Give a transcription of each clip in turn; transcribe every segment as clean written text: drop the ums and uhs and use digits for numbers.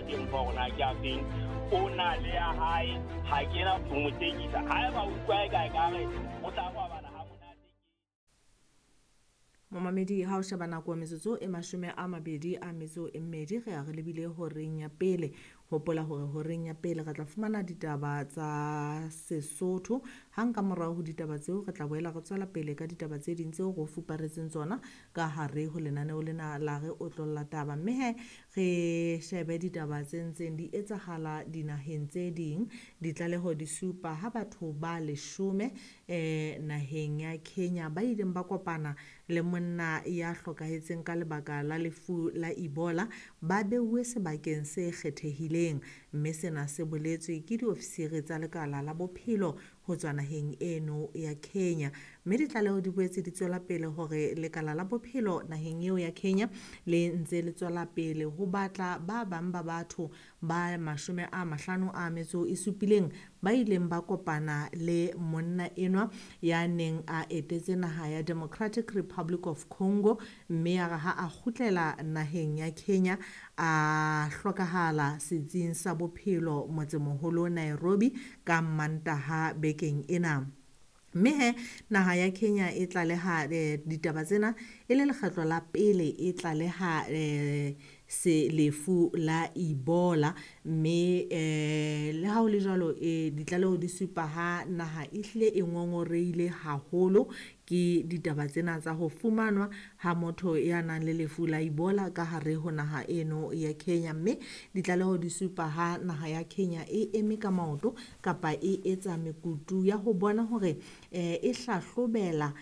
ke mfa hore na ke a feng. O na le ya hae, ha ke na ho mo tekisa. Haeba o utlwa e ka ekare o tla robala ha monate. Momamedi, ha o sheba nako metsotso e 22 re ya re lebile horeng ya pele. Hopola hore horeng ya pele re tla fumana ditaba tsa Sesotho. Hang ka morao ho ditaba tseo re tla boela re tswela pele ka ditaba tse ding tseo re o fuparetseng tsona ka hare ho lenaneo lena la re otlolla taba. Mme he re shebe ditaba tse ntseng di etsahala dinaheng tse ding. Ditlaleho di supa ha batho ba 10 naheng ya Kenya ba ileng ba kopana le monna ya hlokahetseng ka lebaka la lefu la Ebola ba beuwe sebakeng se kgethehileng, mme sena se boletswe ke diofisiri tsa lekala la bophelo ho tswa naheng eno ya Kenya. Mme ditlaleho di boetse di tswela pele hore lekala la bophelo naheng eo ya Kenya le ntse le tswela pele ho batla ba bang ba batho ba 57 ba ileng ba kopana le monna enwa ya neng a etetse naha ya Democratic Republic of Congo, mme ya re ha a kgutlela naheng ya Kenya a hlokahala setsing sa bophelo motsemoholo Nairobi ka Mantaha bekeng ena. Mme he naha ya Kenya e tlaleha ditaba tsena e le lekgetlo la pele e tlaleha se lefu la Ebola. Mme le ha ho le jwalo, ditlaleho di supa ha naha e hlile e ngongoreile haholo ke ditaba tsena tsa ho fumanwa ha motho ya nang le lefu la Ebola ka hare ho naha eno ya Kenya. Mme ditlaleho di supa ha naha ya Kenya e eme ka maoto kapa e etsa mekutu ya ho bona hore e hlahlobela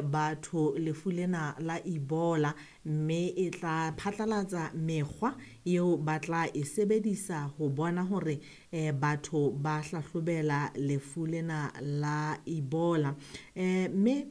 batho lefu lena la Ebola, mme e tla phatlalatsa mekgwa eo ba tla e sebedisa ho bona hore batho ba hlahlobela lefu lena la Ebola. Mme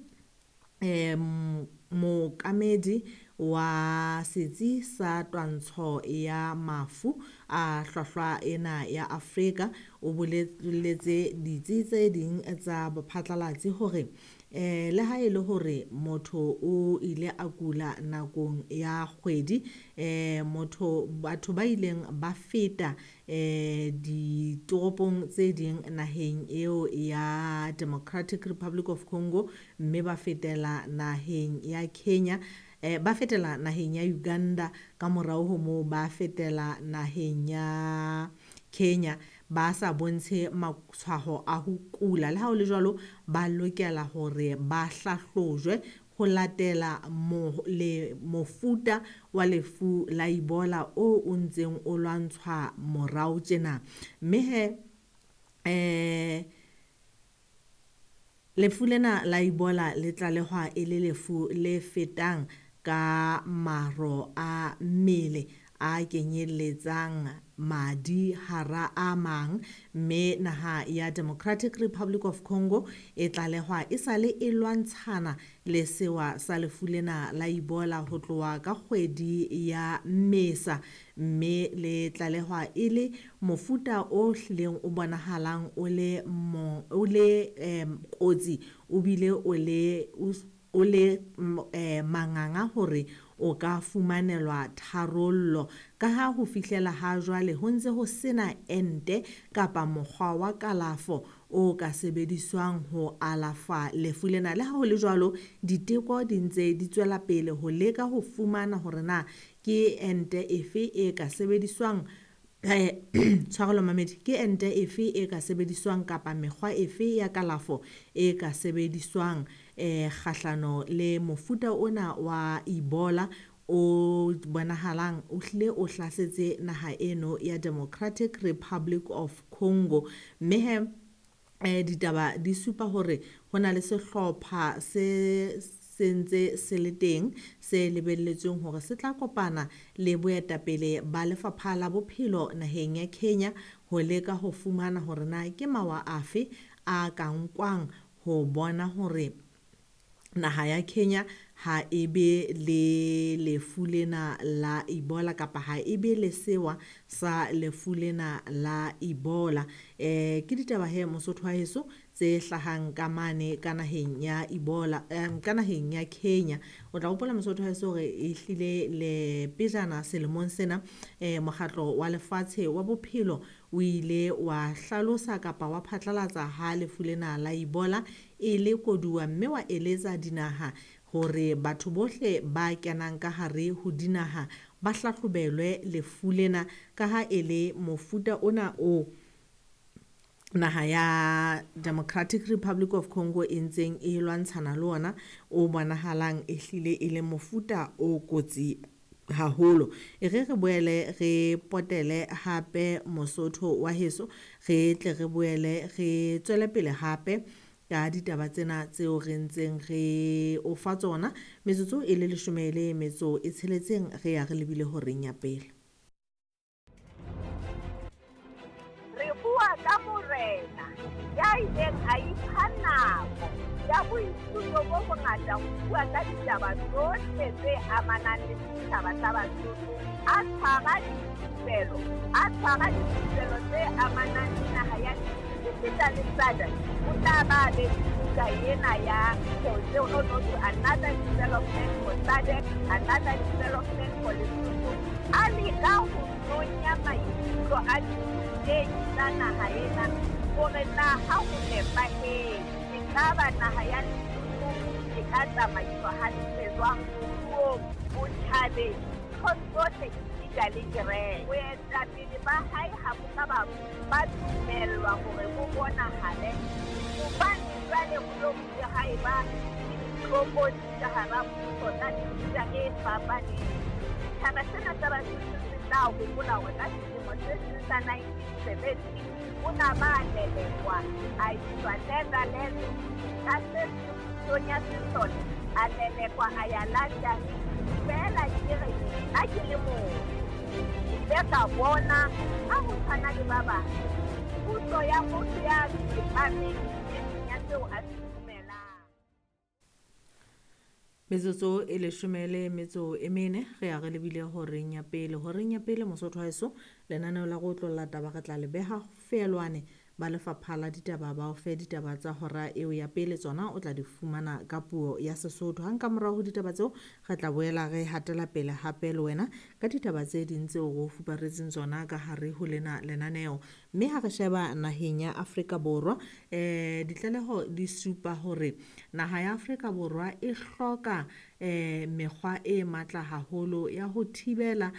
mookamedi wa setsi sa twantsho ya mafu a hlwahlwa ena ya Afrika o boleletse ditsi tse ding tsa bophatlalatsi hore le ha e le hore motho o ile a kula nakong ya kgwedi, batho ba ileng ba feta ditoropong tse ding naheng eo ya Democratic Republic of Congo, mme ba fetela naheng ya Kenya, ba fetela naheng ya Uganda, ka morao ho moo ba fetela naheng ya Kenya ba sa bontshe matshwao a ho kula. Le ha ho le jwalo, ba lokela hore ba hlahlojwe ho latela mofuta wa lefu la Ebola o o ntseng o lwantshwa morao tjena. Mme he lefu lena la Ebola le tlalehwa e le lefu le fetang ka maro a mmele a kenyelletsang madi hara a mang, mme naha ya Democratic Republic of Congo e tlalehwa e sale e lwantshana le sewa sa lefu lena la Ebola ho tloha ka kgwedi ya Mmesa, mme le tlalehwa e le mofuta o hlileng o bonahalang o le kotsi, o bile o le manganga hore o ka fumanelwa tharollo. Ka ha ho fihlela ha jwale ho ntse ho sena ente kapa mokgwa wa kalafo o ka sebediswang ho alafa lefu lena. Le ha ho le jwalo, diteko di ntse di tswela pele ho leka ho fumana hore na ke ente efe e ka sebediswang, tshwarelo mamedi, ke ente efe e ka sebediswang kapa mekgwa efe ya kalafo e ka sebediswang kgahlano le mofuta ona wa Ebola o bonahalang o hlile o hlasetse naha eno ya Democratic Republic of Congo. Mme he ditaba di supa hore ho na le sehlopha se sentse se le teng se lebelletsweng hore se tla kopana le boetapele ba lefapha la bophelo naheng ya Kenya ho leka ho fumana hore na ke mawa afe a ka nkwang ho bona hore naha ya Kenya ha e be le lefu lena la Ebola kapa ha e be le sewa sa lefu lena la Ebola. Ke ditaba he Mosotho wa heso tse hlahang ka mane ka naheng ya Ebola ka naheng ya Kenya. O tla hopola Mosotho haeso hore ehlile le pejana selemong sena mokgatlo wa lefatshe wa bophelo o ile wa hlalosa kapa wa phatlalatsa ha lefu lena la Ebola e le koduwa, mme wa eletsa dinaha hore batho bohle ba kenang ka hare ho dinaha ba hlahlobelwe lefu lena ka ha e le mofuta ona o naha ya Democratic Republic of Congo e ntseng e lwantshana le ona o bonahalang ehlile e le mofuta o kotsi haholo. E re re boele re potele hape Mosotho wa heso, re tle re boele re tswele pele hape ka ditaba tsena tseo re ntseng re o fa tsona. Metsotso e le 16 re ya re lebile horeng ya pele. Re bua ka morena ya ileng a ipha nako ya boithuto bo bongata ho bua ka ditaba tsohle tse amanang le setjhaba sa Basotho, a tshwara dithupelo tse amanang le naha ya Lesotho le SADC. O tla ba be buka ena ya another development for SADC, another development for Lesotho. A leka ho nonya maikutlo a ditei tsa naha ena hore na ha ho nepahetse ekaba naha ya Lesotho e ka tsamaiswa hantle jwang moruong, botjhabeng, nthong tsohle esita le kereke. Boetapele ba hae ha bo ka ba dumellwa hore bo bonahale hobane jwale ho lo bile ha eba le ditlokotsi ka hara mmuso tsa mefuta e fapaneng. Setjhaba sena sa Basotho se tla hopola hore ka selemo se seng sa 1970 o na ba lelekwa a iswa Netherlands, ka se seng pusong ya sesole a lelekwa a ya London. Feela ke re nna ke le motho ke ile ka bona ha ho tshwana le ba bang puso ya motho ya tsepameng nneteng ya seo a se dumelang. Metsotso e 14 re ya re lebile horeng ya pele. Horeng ya pele Mosotho haeso lenaneo la go otlolla taba re tla le beha feelwane ba lefapha la ditaba ba o fe ditaba tsa hora eo ya pele, tsona o tla di fumana ka puo ya Sesotho. Hang ka morao ho ditaba tseo re tla boela re hatela pele hape le wena ka ditaba tse ding tseo re o fuparetseng tsona ka hare ho lena lenaneo. Mme ha re sheba naheng ya Afrika Borwa, ditlaleho di supa hore naha ya Afrika Borwa e hloka mekgwa e matla haholo ya ho thibela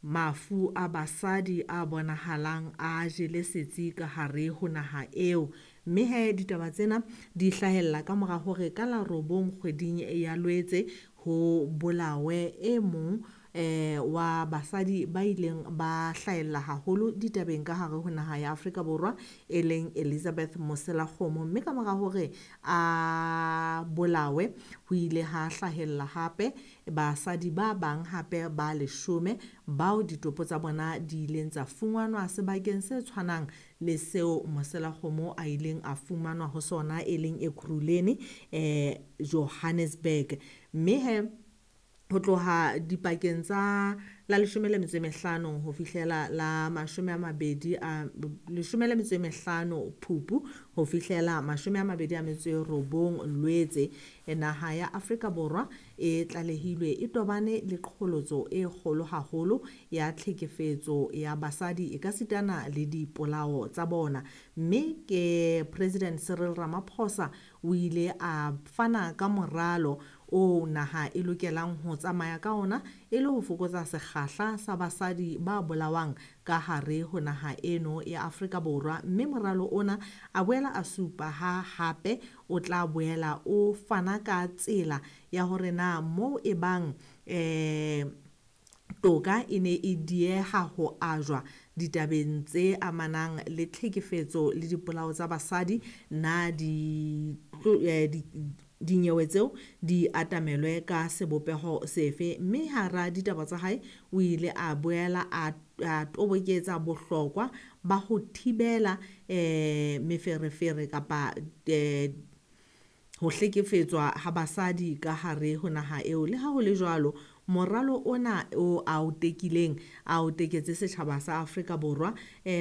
mafu a basadi a bonahalang a jele setsi ka hare ho naha eo. Mme he ditaba tsena di hlahella ka mora hore ka la 9 kgweding ya Lwetse ho bolawe e mong wa basadi ba ileng ba hlahella haholo ditabeng ka hare ho naha ya Afrika Borwa e leng Elizabeth Moselakgomo. Mme ka mora hore a bolawe ho ile ha hlahella hape basadi ba bang hape ba 10 bao ditopo tsa bona di ileng tsa fumanwa sebakeng se tshwanang le seo Moselakgomo a ileng a fumanwa ho sona e leng Ekurhuleni Johannesburg. Mme he ho tloha dipakeng tsa la 15 ho fihlela la 15 Phupu ho fihlela 29 Lwetse, naha ya Afrika Borwa e tlalehilwe e tobane le qholotso e kgolo haholo ya tlhekefetso ya basadi e ka sitana le dipolao tsa bona. Mme ke President Cyril Ramaphosa o ile a fana ka moralo o naha e lokelang ho tsamaya ka ona e le ho fokotsa sekgahla sa basadi ba bolawang ka hare ho naha eno ya Afrika Borwa. Mme moralo ona a boela a supa ha hape o tla boela o fana ka tsela ya hore na moo e bang toka e ne e dieha ho ajwa ditabeng tse amanang le tlhekefetso le dipolao tsa basadi, na dinyewe tseo di atamelwe ka sebopeho sefe. Mme hara ditaba tsa hae o ile a boela a toboketsa bohlokwa ba ho thibela meferefere kapa ho hlekefetswa ha basadi ka hare ho naha eo. Le ha ho le jwalo, Moralo ona o a o tekileng, a o teketse setjhaba sa Afrika Borwa,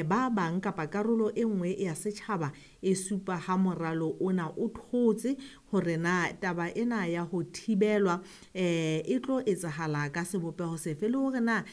ba bang kapa karolo e nngwe ya setjhaba e supa ha moralo ona o thotse hore na taba ena ya ho thibelwa e tlo etsahala ka sebopeho sefe, le hore na